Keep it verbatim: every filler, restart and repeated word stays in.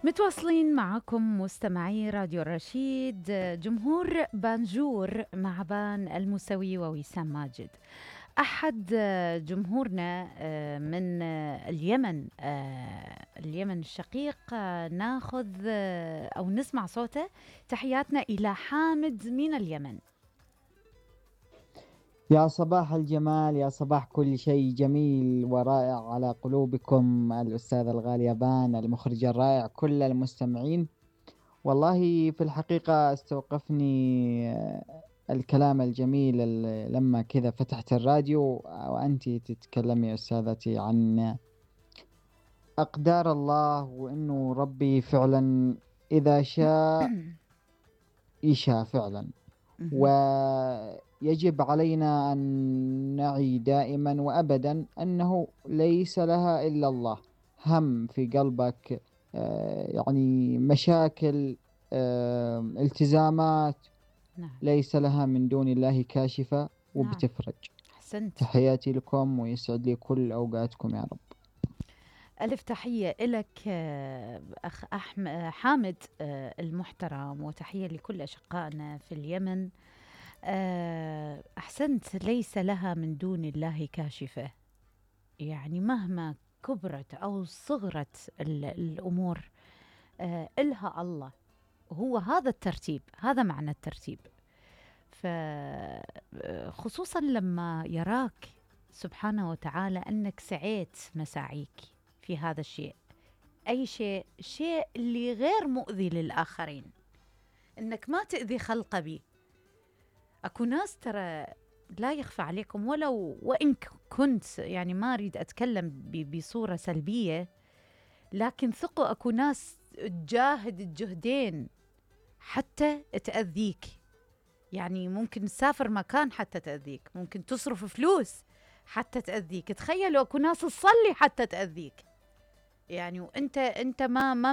متواصلين معكم مستمعي راديو الرشيد، جمهور بانجور مع بان الموسوي ووسام ماجد. أحد جمهورنا من اليمن اليمن الشقيق، ناخذ أو نسمع صوته. تحياتنا إلى حامد من اليمن. يا صباح الجمال، يا صباح كل شيء جميل ورائع على قلوبكم الأستاذ الغالية بان، المخرج الرائع، كل المستمعين. والله في الحقيقة استوقفني الكلام الجميل لما كذا فتحت الراديو وأنت تتكلمي أستاذتي عن أقدار الله، وإنه ربي فعلا إذا شاء يشاء فعلا، ويجب علينا أن نعي دائما وأبدا أنه ليس لها إلا الله. هم في قلبك يعني مشاكل، التزامات، نعم. ليس لها من دون الله كاشفة وبتفرج. نعم. أحسنت. تحياتي لكم ويسعد لي كل أوقاتكم يا رب. ألف تحية لك أخ أحمد حامد المحترم، وتحية لكل أشقائنا في اليمن. أحسنت، ليس لها من دون الله كاشفة. يعني مهما كبرت أو صغرت الأمور إلها الله. هو هذا الترتيب، هذا معنى الترتيب. فخصوصا لما يراك سبحانه وتعالى أنك سعيت مساعيك في هذا الشيء، أي شيء شيء اللي غير مؤذي للآخرين، إنك ما تأذي خلق بي. أكو ناس ترى لا يخفى عليكم، ولو وإن كنت يعني ما أريد أتكلم بصورة سلبية، لكن ثقوا أكو ناس تجاهد الجهدين حتى تأذيك. يعني ممكن تسافر مكان حتى تأذيك، ممكن تصرف فلوس حتى تأذيك. تخيلوا أكو ناس تصلي حتى تأذيك، يعني وأنت أنت ما ما